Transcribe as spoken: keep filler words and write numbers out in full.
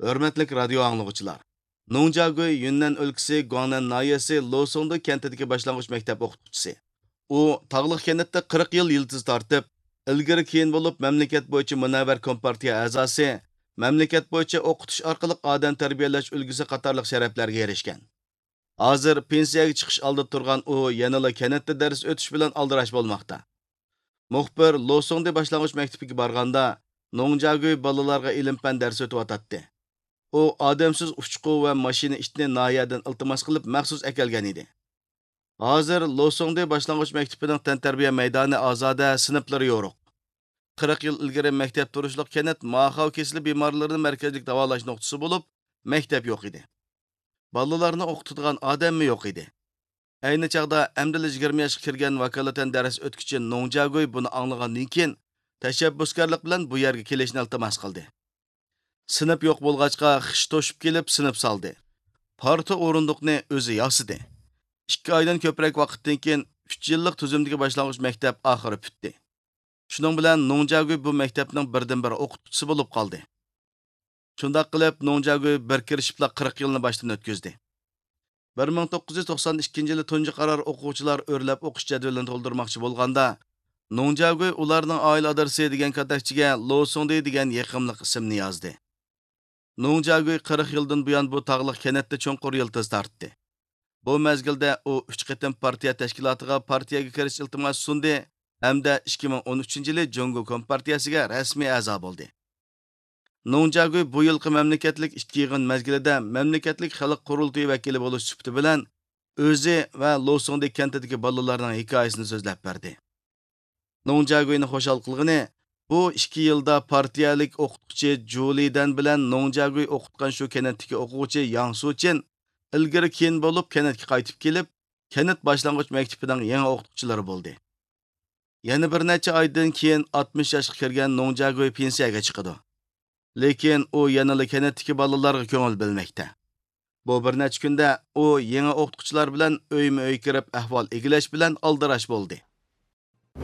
ھۆرمەتلىك رادىيو ئاڭلىغۇچىلار! نوڭجياگۈي يۈننەن ئۆلكىسى گۇاڭنەن ناھىيەسى لوسۇڭدۇ كەنتىدىكى باشلانغۇچ مەكتەپ ئوقۇتقۇچىسى. ئۇ تاغلىق كەنتتە قىرىق يىل يىلتىز تارتىپ، ئىلگىرى كېيىن بولۇپ مەملىكەت بويىچە مۇنەۋۋەر كومپارتىيە ئەزاسى، مەملىكەت بويىچە ئوقۇتۇش ئارقىلىق ئادەم تەربىيەلەش ئۈلگىسى قاتارلىق شەرەپلەرگە ئېرىشكەن. ھازىر پېنسىيەگە چىقىش ئالدىدا تۇرغان ئۇ يەنىلا كەنتتە دەرس ئۆتۈش بىلەن ئالدىراش بولماقتا. مۇخبىر لوسۇڭدى باشلانغۇچ مەكتىپىگە بارغاندا، نوڭجياگۈي بالىلارغا ئىلىم-پەن دەرس ئۆتۈۋاتاتتى. ئۇ ئادەمسىز ئۇچقۇ ۋە ماشىنا ئىتنى ناھىيەدىن ئىلتىماس قىلىپ مەخسۇس ئەكەلگەن ئىدى. ھازىر لوسۇڭدى باشلانغۇچ مەكتىپىنىڭ تەنتەربىيە مەيدانى ئازادە، سىنىپلىرى يورۇق. قىرىق يىل ئىلگىرى مەكتەپ تۇرۇشلۇق كەنت ماخاۋ كېسىلى بىمارلىرىنى مەركەزلىك داۋالاش نۇقتىسى بولۇپ، مەكتەپ يوق ئىدى. بالىلارنى ئوقۇتىدىغان ئادەممۇ يوق ئىدى. ئەينى چاغدا ئەمدىلا يىگىرمە ياشقا كىرگەن ۋاكالىتەن دەرس ئۆتكۈچى نوڭجياگۈي بۇنى ئاڭلىغاندىن كېيىن، تەشەببۇسكارلىق بىلەن بۇ يەرگە كېلىشنى ئىلتىماس قىلدى. سىنىپ يوق بولغاچقا، خىش توشۇپ كېلىپ سىنىپ سالدى. پارتا ئورۇندۇقنى ئۆزى ياسىدى. ئىككى ئايدىن كۆپرەك ۋاقىتتىن كېيىن، ئۈچ يىللىق تۈزۈمدىكى باشلانغۇچ مەكتەپ ئاخىرى پۈتتى. شۇنىڭ بىلەن نوڭجياگۈي بۇ مەكتەپنىڭ بىردىنبىر ئوقۇتقۇچىسى بولۇپ قالدى. شۇنداق قىلىپ، نوڭجياگۈي بىر كىرىشىپلا قىرىق يىلنى باشتىن ئۆتكۈزدى. بىر مىڭ توققۇز يۈز توقسان ئىككىنچى يىلى تۇنجى قارار ئوقۇغۇچىلار ئۆرلەپ ئوقۇش جەدۋىلىنى تولدۇرماقچى بولغاندا، نوڭجياگۈي ئۇلارنىڭ ئائىلە ئادرېسى دېگەن كاتەكچىگە لوسۇڭدى دېگەن يېقىملىق ئىسىمنى يازدى. نوڭجياگۈي قىرىق يىلدىن بۇيان بۇ تاغلىق كەنتتە چوڭقۇر يىلتىز تارتتى. بۇ مەزگىلدە ئۇ ئۈچ قېتىم پارتىيە تەشكىلاتىغا پارتىيەگە كىرىش ئىلتىماسى سۇندى ھەمدە ئىككى مىڭ ئون ئۈچىنچى يىلى جۇڭگو كومپارتىيەسىگە رەسمىي ئەزا بولدى. نوڭجياگۈي بۇ يىلقى مەملىكەتلىك ئىككى يىغىن مەزگىلىدە مەملىكەتلىك خەلق قۇرۇلتىيى ۋەكىلى بولۇش سۈپىتى بىلەن ئۆزى ۋە لوسۇڭدى كەنتىدىكى بالىلارنىڭ ھېكايىسىنى سۆزلەپ بەردى. نوڭجياگۈينى خۇشال قىلغىنى، بۇ ئىككى يىلدا پارتىيەلىك ئوقۇتقۇچى جۇ لىدەن بىلەن نوڭجياگۈي ئوقۇتقان شۇ كەنتتىكى ئوقۇغۇچى ياڭ سۇچىن ئىلگىرى كېيىن بولۇپ كەنتكە قايتىپ كېلىپ، كەنت باشلانغۇچ مەكتىپىنىڭ يېڭى ئوقۇتقۇچىلىرى بولدى. يەنە بىر نەچچە ئايدىن كېيىن ئاتمىش ياشقا كىرگەن نوڭجياگۈي پېنسىيەگە چىقىدۇ. لېكىن ئۇ يەنىلا كەنتتىكى بالىلارغا كۆڭۈل بۆلمەكتە. بۇ بىر نەچچە كۈندە ئۇ يېڭى ئوقۇتقۇچىلار بىلەن ئۆيمۇ ئۆي كىرىپ ئەھۋال ئىگىلەش بىلەن ئالدىراش بولدى.